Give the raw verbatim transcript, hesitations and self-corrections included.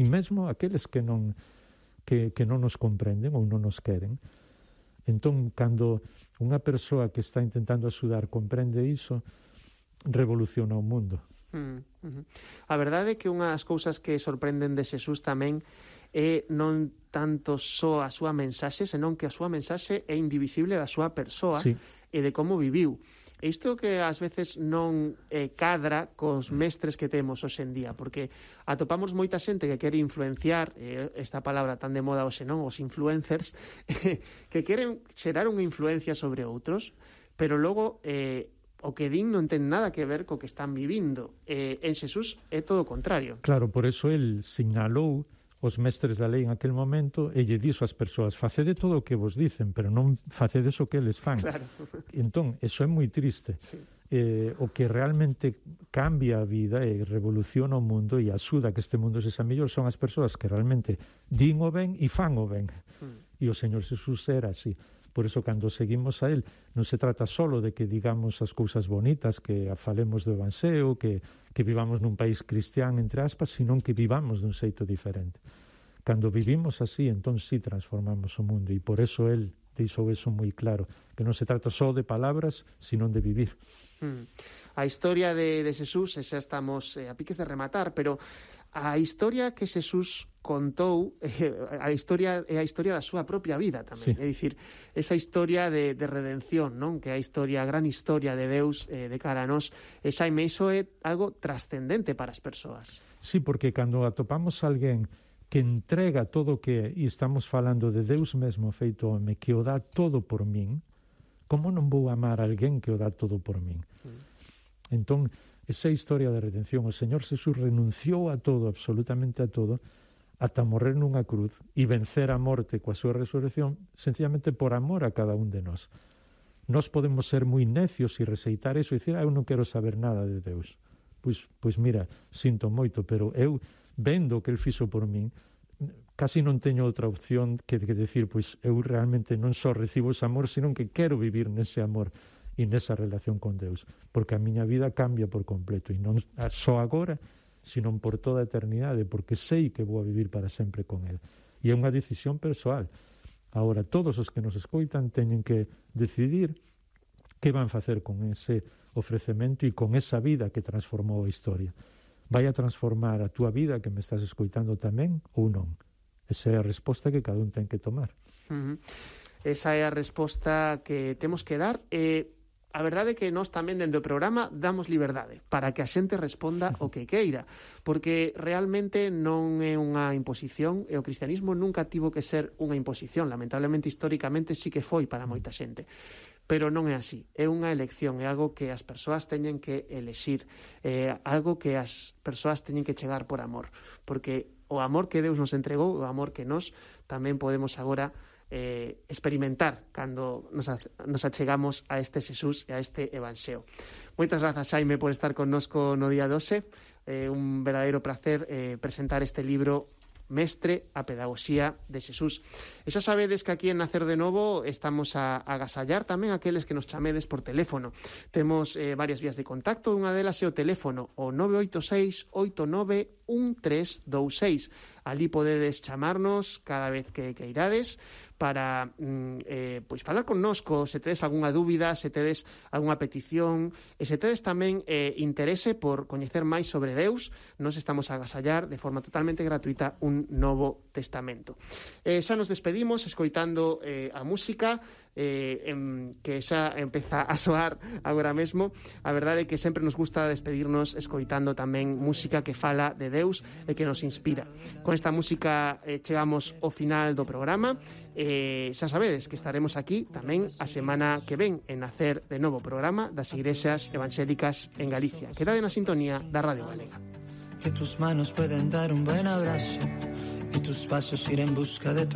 e mesmo aqueles que non que, que non nos comprenden ou non nos queren. Entón, cando unha persoa que está intentando axudar comprende iso, revoluciona o mundo. Mm, uh-huh. A verdade é que unha das cousas que sorprenden de Xesús tamén é non tanto só a súa mensaxe, senón que a súa mensaxe é indivisible da súa persoa, sí, e de como viviu. E isto que ás veces non eh, cadra cos mestres que temos hoxe en día, porque atopamos moita xente que quere influenciar, eh, esta palabra tan de moda hoxe, non? Os influencers, que queren xerar unha influencia sobre outros, pero logo eh, o que din non ten nada que ver co que están vivindo. Eh, en Xesús é todo o contrario. Claro, por eso el sinalou os mestres da lei en aquel momento e lle dixo ás persoas: facede todo o que vos dicen, pero non facedes o que eles fan. Claro. Entón, eso é moi triste. Sí. Eh, o que realmente cambia a vida e revoluciona o mundo e axuda a que este mundo sexa mellor son as persoas que realmente din o ben e fan o ben. Mm. E o Señor Xesús era así. Por eso, cando seguimos a Él, non se trata solo de que digamos as cousas bonitas, que falemos do Evanxeo, que, que vivamos nun país cristián, entre aspas, sino que vivamos dun xeito diferente. Cando vivimos así, entón sí transformamos o mundo, e por eso Él deixou eso moi claro, que non se trata só de palabras, sino de vivir. Mm. A historia de, de Xesús, xa estamos eh, a piques de rematar, pero a historia que Xesús contou, eh, a historia é a historia da súa propia vida tamén, sí. É dicir, esa historia de, de redención, non? Que é a historia, a gran historia de Deus eh, de cara a nós, e Xaime, iso é algo trascendente para as persoas. Sí, porque cando atopamos alguén que entrega todo o que é, e estamos falando de Deus mesmo feito home, que o dá todo por min, como non vou amar a alguén que o dá todo por min? Mm. Entón, esa historia de redención, o Señor Xesús renunciou a todo, absolutamente a todo, ata morrer nunha cruz e vencer a morte coa súa resurrección, sencillamente por amor a cada un de nós. Nós podemos ser moi necios e receitar eso e dicir: ah, eu non quero saber nada de Deus. Pois, pois mira, sinto moito, pero eu, vendo o que Él fixo por min, casi non teño outra opción que, que decir, pois eu realmente non só recibo ese amor, sino que quero vivir nese amor e nesa relación con Deus, porque a miña vida cambia por completo, e non só agora, sino por toda a eternidade, porque sei que vou a vivir para sempre con Él. E é unha decisión persoal. Agora, todos os que nos escoitan teñen que decidir que van facer con ese ofrecemento e con esa vida que transformou a historia. Vai a transformar a túa vida que me estás escoitando tamén ou non? Esa é a resposta que cada un ten que tomar. Uh-huh. Esa é a resposta que temos que dar. E a verdade é que nós tamén dentro do programa damos liberdade para que a xente responda o que queira, porque realmente non é unha imposición, e o cristianismo nunca tivo que ser unha imposición. Lamentablemente, históricamente sí que foi para moita xente, pero non é así. É unha elección, é algo que as persoas teñen que elexir, é algo que as persoas teñen que chegar por amor, porque o amor que Deus nos entregou, o amor que nós tamén podemos agora Eh, experimentar cando nos, nos achegamos a este Xesús e a este Evanxeo. Moitas grazas, Xaime, por estar connosco no día doce. Eh, un verdadeiro placer eh, presentar este libro Mestre, a pedagogía de Xesús. E xa sabedes que aquí en Nacer de Novo estamos a, a agasallar tamén aqueles que nos chamedes por teléfono. Temos eh, varias vías de contacto, unha delas é o teléfono, o nove oito seis, oito nove, un tres dous seis. Ali podedes chamarnos cada vez que, que irades para eh, pois falar connosco, se tedes algunha dúbida, se tedes algunha petición, e se tedes tamén eh, interese por coñecer máis sobre Deus, nos estamos a agasallar de forma totalmente gratuita un Novo Testamento. Eh, xa nos despedimos escoitando eh, a música eh, en, que xa empeza a soar agora mesmo. A verdade é que sempre nos gusta despedirnos escoitando tamén música que fala de Deus e que nos inspira. Con esta música eh, chegamos ao final do programa. Eh, xa sabedes que estaremos aquí tamén a semana que ven en Nacer de Novo, programa das Igrexas Evangélicas en Galicia. Quedade na sintonía da Radio Galega. Que tus manos pueden dar un buen abrazo y tus pasos ir en busca de tu